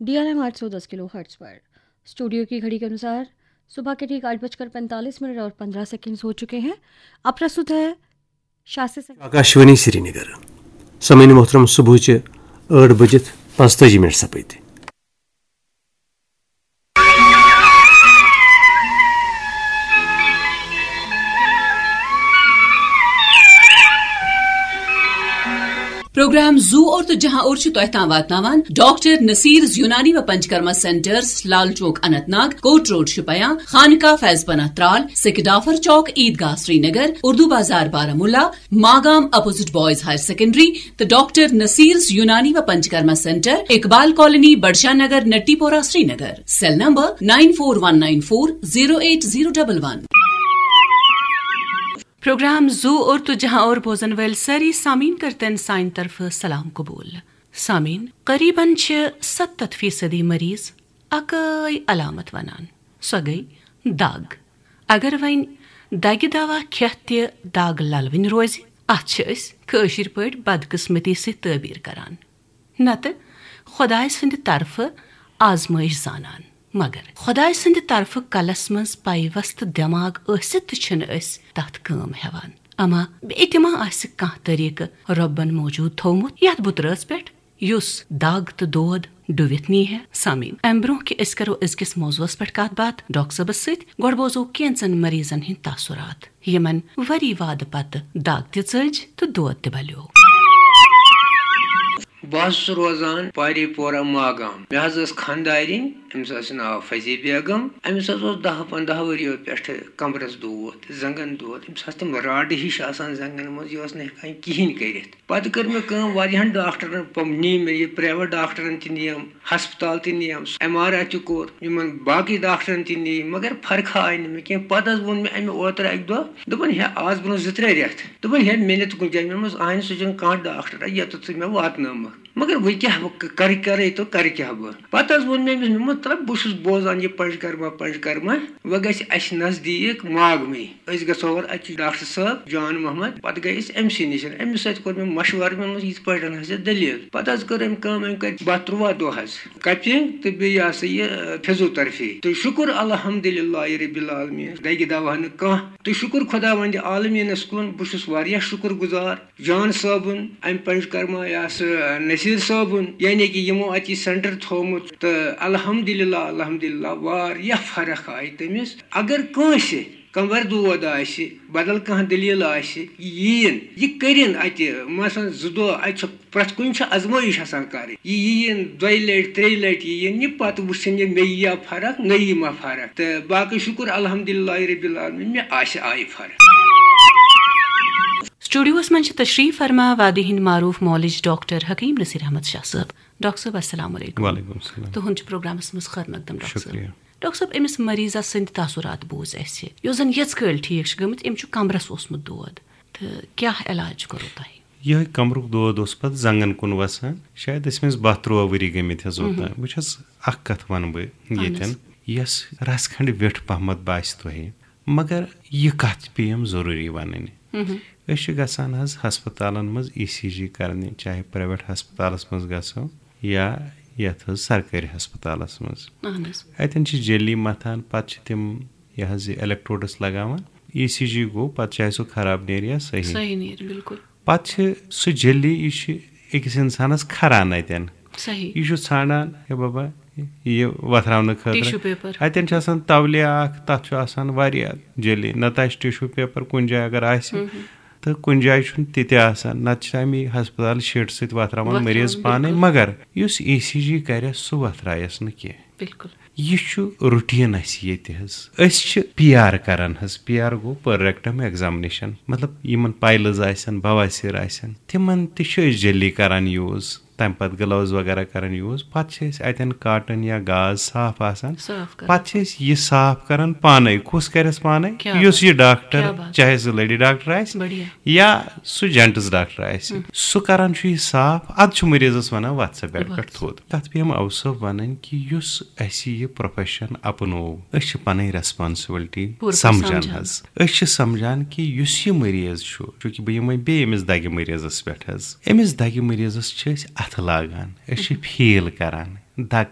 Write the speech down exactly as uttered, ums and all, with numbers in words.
D R M आठ सौ दस किलो हर्ट्ज पर। स्टूडियो की घड़ी के अनुसार सुबह के ठीक आठ बजकर पैंतालीस मिनट और पन्द्रह सेकंड्स हो चुके हैं। अब प्रस्तुत है शास्त्रीय संगीत। आकाशवाणी श्रीनगर। सामीन मोहतरम, सुबह चे आठ बजित पाँचतालीस मिनट सपैत। پروگرام زو اور تو جہاں اور چھُ تۄہہِ تام واتناوان ڈاکٹر نصیرز یونانی و Panchakarma centres, Lal Chowk Anant Nag, court road Shopian, Khanqah Faiz Panah Tral, Sekidafar Chowk, Idgah Srinagar, Urdu Bazaar Baramulla, Magam opposite boys higher secondary, تہٕ ڈاکٹر نصیرز یونانی و Panchakarma centre, Iqbal colony, Budshah Nagar, Natipora, Srinagar. Cell number nine four one nine four zero eight zero double one. Programme زو اور تو جہاں اور بوزن ویل ساری سامین کرتن سائن طرف سلام قبول۔ سامین، قریباً چھِ ستتھ فیصدی مریض اکٲے علامت ونان، سۄ گٔے دگ۔ اگر وۄنۍ دگہِ دوا کھٮ۪تھ تہِ دگ للوٕنۍ روزِ، اتھ چھِ أسۍ کٲشِر پٲٹھۍ بدقسمتی سۭتۍ تعبیر کران، نتہٕ خۄداے سٕنٛدِ طرفہٕ آزمٲیش زانان۔ مگر خۄداے سٕنٛدِ طرفہٕ کلس منٛز پیوستہٕ دٮ۪ماغ ٲسِتھ تہِ چھِنہٕ أسۍ تتھ کٲم ہٮ۪وان۔ اما بیٚیہِ تہِ ما آسہِ کانٛہہ طریٖقہٕ رۄبن موجود تھوومُت یتھ بُترٲژ پٮ۪ٹھ، یُس دگ تہٕ دود ڈُوِتھ نی ہے؟ سامعیٖن، امہِ برونٛہہ کہِ أسۍ کرو أزکِس موضوعس پٮ۪ٹھ کتھ باتھ ڈاکٹر صٲبس سۭتۍ، گۄڈٕ بوزو کینژن مریضن ہٕنٛدۍ تاثرات، یِمن ؤری وادٕ پتہٕ دگ تہِ ژٔج تہٕ دود تہِ بلیو۔ بہٕ حظ چھُس روزان پاری پورہ ماگام۔ مےٚ حظ ٲس خانٛدارِنۍ، أمِس ٲس ناو فضی بیگم۔ أمِس حظ اوس دَہ پنٛداہ ؤرِیو پٮ۪ٹھٕ کمرس دود، زنٛگن دود۔ أمِس آسہٕ تِم راڈٕ ہِش آسان زنٛگن منٛز، یہِ ٲس نہٕ ہٮ۪کان کِہیٖنۍ کٔرِتھ۔ پتہٕ کٔر مےٚ کٲم، واریاہن ڈاکٹرن پم-، نی مےٚ یہِ، پرٛایویٹ ڈاکٹرن تہِ نِیَم، ہسپتال تہِ نِیَم، ایم آر آی تہِ کوٚر، یِمن باقٕے ڈاکٹرن تہِ نی، مگر فرقہ آیہِ نہٕ مےٚ کینٛہہ۔ پتہٕ حظ ووٚن مےٚ اَمہِ اوترٕ اَکہِ دۄہ، دوٚپُن، ہے، آز برونٛہہ زٕ ترٛےٚ رٮ۪تھ، دوٚپُن، ہے، مےٚ نہِ تہٕ کُنہِ جایہِ۔ مےٚ دوٚپمَس، اَہَنہِ، سُہ چھُنہٕ کانٛہہ ڈاکٹر، یَتَتھ ژٕ مےٚ واتنٲومَکھ۔ مگر وۄنۍ کیٛاہ بہٕ ک-، کَرٕ کَرَے تہٕ کَرٕ کیٛاہ بہٕ؟ پَتہٕ حظ ووٚن مےٚ أمِس، مےٚ ووٚن، مطلب، بہٕ چھُس بوزان یہِ پنٛجکرما، پنٛجکرما، وۄنۍ گژھِ اَسہِ نزدیٖک ماگمٕے۔ أسۍ گژھو اور اَتہِ ڈاکٹر صٲب جان محمد۔ پَتہٕ گٔے أسۍ أمۍ سٕے نِش۔ أمِس سۭتۍ کوٚر مےٚ مَشوَرٕ، مےٚ ووٚنمَس، یِتھ پٲٹھۍ حظ چھِ دٔلیٖل۔ پَتہٕ حظ کٔر أمۍ کٲم، أمۍ کَرِ باہ تُرٛواہ دۄہ حظ کَپِنٛگ تہٕ بیٚیہِ یہِ ہسا یہِ، فزیوتھرپی۔ تہٕ شُکُر الحمدللہ رب العالمین، دَگہِ دَوا نہٕ کانٛہہ۔ تہٕ شُکُر خۄداوندِ عالمیٖنَس کُن، بہٕ چھُس واریاہ شُکُر گُزار جان صٲبُن، اَمہِ پنٛجکرما یا سُہ نصیٖر صٲبُن، یعنی کہِ یِمو اَتہِ یہِ سٮ۪نٹَر تھوٚومُت۔ تہٕ الحمدللہ، الحمدللہ، واریاہ فرق آیہِ تٔمِس۔ اگر کٲنٛسہِ کمبر دود آسہِ، بدل کانٛہہ دٔلیٖل آسہِ، یہِ یِیِن، یہِ کٔرِن اَتہِ، مثلاً، زٕ دۄہ، اَتہِ چھُ پرٛٮ۪تھ کُنہِ چھِ آزمٲیِش آسان کَرٕنۍ۔ یہِ یِیِن دۄیہِ لَٹہِ، ترٛیٚیہِ لَٹہِ یِیِن یہِ، پَتہٕ وٕچھِن یہِ، مےٚ یِیا فرق، نہ یی ما فرق۔ تہٕ باقٕے شُکُر الحمدللہ رب العالمین، مےٚ آسہِ آیہِ فرق۔ سٹوڈیوس منٛز چھِ تشریف فرما وادی ہٕنٛدۍ معروف معالج ڈاکٹر حکیم نصیر احمد شاہ صٲب۔ ڈاکٹر صٲب، السلام علیکم۔ وعلیکم السلام۔ تُہُنٛد چھُ پروگرامس منٛز خٲر مقدم، ڈاکٹر صٲب۔ شُکریہ۔ ڈاکٹر صٲب، أمِس مریضس سٕنٛدِ تاثرات بوٗز اَسہِ، یُس زن یٔژ کٲلۍ ٹھیٖک چھُ گٔمٕتۍ، أمِس چھُ کمرس اوسمُت دود، تہٕ کیٛاہ علاج کوٚروٕ تۄہہِ؟ یِہوٚے کمرُک دود اوس پتہٕ زنٛگن کُن وسان۔ شاید ٲسۍ أمِس باہ تُرٛواہ ؤری گٔمٕتۍ حظ اوٚتام۔ وٕچھ حظ، اکھ کتھ ونہٕ بہٕ اہن حظ۔ ییٚتٮ۪ن، یۄس رژھ کھنٛڈ ویوٚٹھ پہمتھ باسہِ تۄہہِ، مگر یہِ کتھ پیٚیَم ضروٗری ونٕنۍ۔ أسۍ چھِ گژھان حظ ہسپتالن منٛز ای سی جی کرنہِ، چاہے پرائیویٹ ہسپتالس منٛز گژھو یا یتھ حظ سرکٲرۍ ہسپتالس منٛز۔ اہن حظ۔ اتٮ۪ن چھِ جٔلی متھان، پتہٕ چھِ تِم یہِ حظ یہِ electrodes لگاوان۔ ای سی جی گوٚو، پتہٕ چاہے سُہ خراب نیرِ یا صحیح۔ صحیح نیرِ، بِلکُل۔ پتہٕ چھِ سُہ جٔلی، یہِ چھِ أکِس انسانس کھران اتٮ۪ن۔ صحیح۔ یہِ چھُ ژھانڈان، ہے بابا، یہِ وۄتھراونہٕ خٲطرٕ۔ Tissue paper۔ اتٮ۪ن چھِ آسان تولیہ اکھ، تتھ چھُ آسان واریاہ جٔلی۔ نتہٕ آسہِ tissue paper کُنہِ جایہِ اگر آسہِ، تہٕ کُنہِ جایہِ چھُنہٕ تہِ تہِ آسان، نتہٕ چھِ اَمی ہسپتال شیٖٹہٕ سۭتۍ وۄتھراوان وۄتھراوان، مریض پانے، بِلکُل۔ مگر یُس ای سی جی کرٮ۪س، سُہ وۄتھرایس نہٕ کینٛہہ۔ بِلکُل۔ یہِ چھُ routine اَسہِ ییٚتہِ حظ۔ أسۍ چھِ پی آر کران حظ، پی آر گوٚو per rectum examination، مطلب یِمن piles آسن، بواسیر آسن، تِمن تہِ چھِ أسۍ جٔلی کران use۔ تَمہِ پَتہٕ gloves وغیرہ کران use۔ پَتہٕ چھِ أسۍ اَتٮ۪ن cotton یا گاز صاف آسان۔ صاف کران۔ پَتہٕ چھِ أسۍ یہِ صاف کران پانَے۔ کُس کرٮ۪س پانَے؟ کیٛاہ یُس بات۔ یہِ ڈاکٹر، کیٛاہ بات۔ چاہے سُہ lady doctor آسہِ بڑھیا۔ یا سُہ gents doctor آسہِ، سُہ کران چھُ یہِ صاف۔ اَدٕ چھُ مریضَس وَنان، "وَتھ سا bed پٮ۪ٹھ وَتھ۔ تھوٚد۔" تَتھ پیٚیَم اَوٕ صٲب وَنٕنۍ کہِ یُس اَسہِ یہِ profession اپنوو، أسۍ چھِ پَنٕنۍ responsibility پوٗرٕ پٲٹھۍ سمجھان سمجھان۔ حظ۔ أسۍ چھِ سمجھان کہِ یُس یہِ مریض چھُ، چوٗنٛکہِ بہٕ یِمے بیٚیہِ أمِس دَگہِ مریضَس پٮ۪ٹھ حظ، أمِس دَگہِ مریضَس چھِ أسۍ اَتھٕ لاگان، أسۍ چھِ feel کران، دَگ